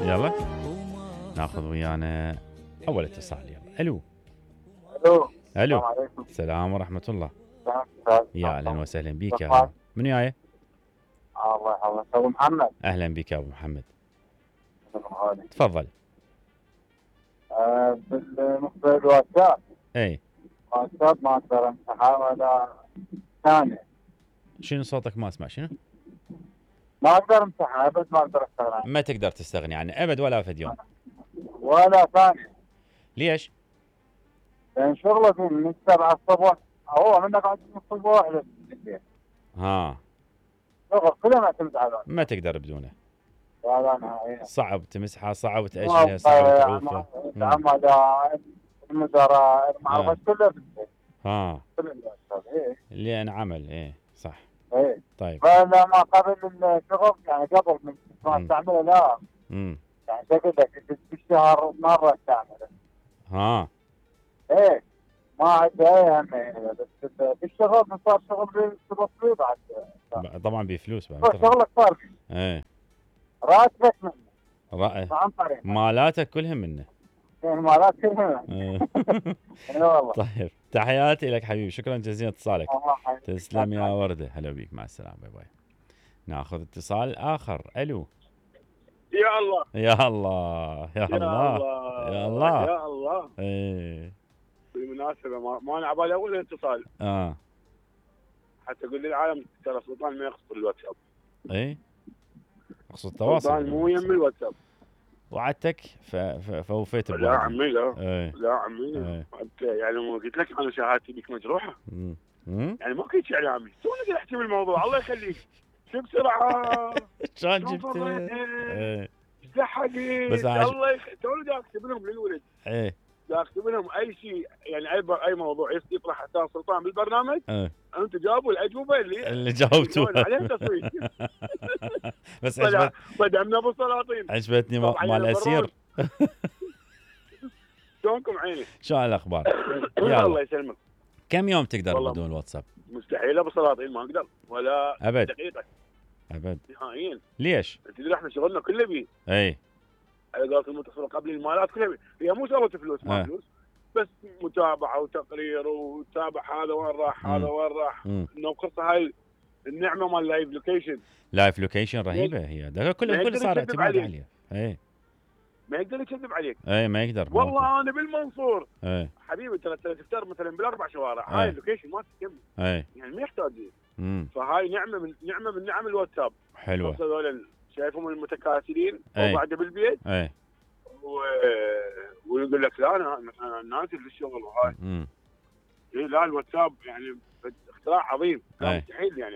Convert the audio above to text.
يلا ناخذ ويانا اول اتصال. يلا الو. الو. الو. السلام عليكم. السلام ورحمة الله. يا اهلا وسهلا بك يا الله هلا. من وياي؟ يحفظك ابو محمد. اهلا بك يا ابو محمد. غالي. تفضل. بالنسبه للواتساب. اي الواتساب ما اقدر امسحه ولا ثانيه. شنو صوتك ما اسمع شنو؟ ما اقدر امسحه ابد، ما اقدر استغنى عنه ما تقدر تستغني عنه ابد ولا فد يوم. ولا ثانيه. ليش؟ لان شغله فيه من 7 الصبح، هو من قاعد من الصبح للليل. ها شغل كله معتمد على الواتساب. ما تقدر بدونه. لا نهائيا. صعب تمسحها، صعب تأجلها، صعب تعوفها. العملاء، المدراء، المعرفة كله بالبيت. ها كل الواتساب. ايه لأن عمل ايه صح. ايه. طيب. فلا ما قبل الشغل يعني قبل من ما استعمله لا. يعني شكل لك بالشهر مرة استعمله. ها ايه ما عنده اي اهمية، بس بالشغل من صار شغل تبصري بعد. طبعا بفلوس بعد. شغلك صار فيه. ايه راتبك منه. عن طريق مالاتك كلها منه. المالات كلها. اي والله. طيب تحياتي لك حبيبي، شكرا جزيلا اتصالك. الله تسلم يا وردة. هلا بيك، مع السلامة، باي باي. ناخذ اتصال آخر. الو. يا الله يا الله يا الله يا الله يا الله. ايه بالمناسبة ما انا عبالي اول اتصال حتى اقول للعالم ترى سلطان ما يقصد الواتساب. ايه اقصد التواصل. سلطان مو يم الواتساب. وعدتك فوفيت لا عمي لا. ايه. لا عمي. ايه. يعني ما قلت لك انا شهادتي بك مجروحة. يعني ما كنت يا عمي توني قاعد احكي بالموضوع. الله يخليك شو بسرعة شلون جبت؟ ايه زحقي. بس الله توني دا اكتب لهم للولد. ايه دا اكتب لهم اي شيء، يعني اي موضوع يطرح حتى سلطان بالبرنامج. ايه. انتم جاوبوا الاجوبه اللي جاوبتوها عليها تصويت. بس بدعمنا ابو سلاطين. عجبتني مال الاسير. شلونكم عيني؟ شو الاخبار؟ الله يسلمك. كم يوم تقدر بدون الواتساب؟ مستحيل ابو سلاطين، ما اقدر ولا ابد دقيقه ابد نهائيا. ليش؟ تدري احنا شغلنا كله بيه. اي على قولة المتصل قبل المالات كلها بيه. هي مو شغله فلوس ما فلوس، بس متابعه وتقرير وتابع هذا وين راح هذا وين راح. انه قصه هاي النعمه مال لايف لوكيشن. لايف لوكيشن رهيبه هي، ده كل صار اعتماد عليها. اي ما يقدر يكذب عليك. اي ما يقدر. والله انا بالمنصور. اي حبيبي ترى تفتر مثلا بالاربع شوارع. هاي اللوكيشن ما تكمل. اي يعني ما يحتاج. فهاي نعمه من نعم الواتساب. حلوه. هذول شايفهم المتكاسلين وقاعده بالبيت. اي ويقول لك لا انا نازل في الشغل وهاي. لا الواتساب يعني اختراع عظيم. مستحيل يعني